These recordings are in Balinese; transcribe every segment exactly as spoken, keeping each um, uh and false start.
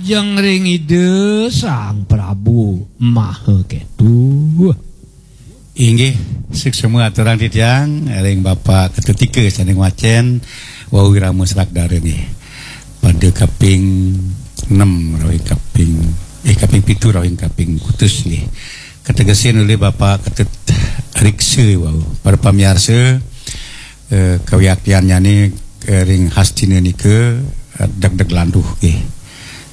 Yang ring Ida Sang Prabu Maha Ketu. Inggih, suksma aturang titiang ring Bapak Ketutika sané ngwacén wau irama serak dara nggih. Pada kaping enam rawing kaping, eh, kaping pitu rawing kaping kutus nggih. Kategesin olih Bapak Ketut Riksa wau. Para pamiarsa, eh, kawiaktiannyané, eh, ring Hastina nika, eh, degdeg landuh nggih.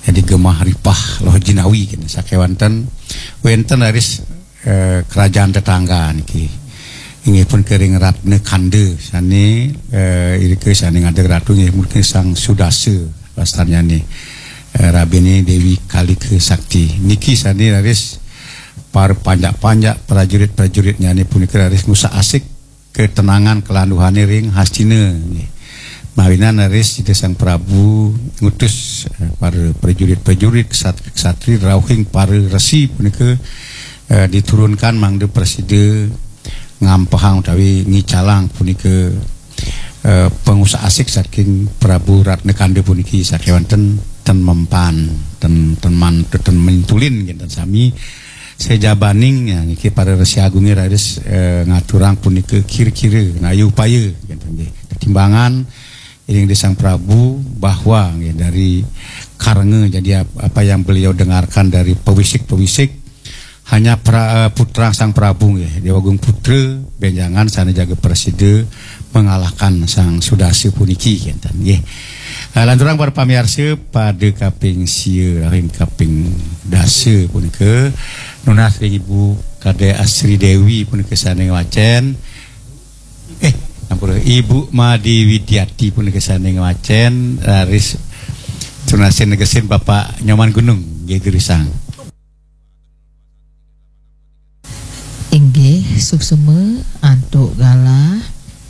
Jadi gemah ripah loh jinawi kena sakéwanten wénten raris, eh, kerajaan tetangga niki. Inggih punika ring Ratna Kanda sané, eh, irika sané ngadeg ratu inggih punika Sang Sudasa wastannyané, eh, rabiné Déwi Kalika Sakti. Niki sané raris para panjak-panjak prajurit-prajuritnyané punika raris ngusak-asik ketenangan kelanduhané ring Hastina nggih. Mawinan raris Ida Sang Prabu ngutus, eh, para prajurit-prajurit, ksatri-ksatri rauhing para resi punika, eh, diturunkan mangda prasida ngampehang utawi ngicalang punika, eh, pangusak-asik saking Prabu Ratna Kanda puniki sakéwanten ten mempan, ten, ten man-, ten mintulin kinten sami. Sajabaning, ya, niki para Resi Agungé raris, eh, ngaturang punika kira-kira ngayuh upaya kinten nggih. Tetimbangan ring Ida Sang Prabu bahwa nggih dari karena jadi ap-, apa yang beliau dengarkan dari pewisik-pewisik hanya pra-, eh, putra Sang Prabu nggih, Déwa Agung Putra bénjangan sané jaga prasida mengalahkan Sang Sudasa puniki kinten nggih. Eh, lanturang para pamiarsa pada kaping sia ring kaping dasa punika nunas ring Ibu Kadek Asri Déwi punika sané ngwacén. Eh, ampura, Ibu Made Widiati punika sané ngwacén, raris tunasin negesin Bapak Nyoman Gunung nggih durusang. Inggih, suksma antuk galah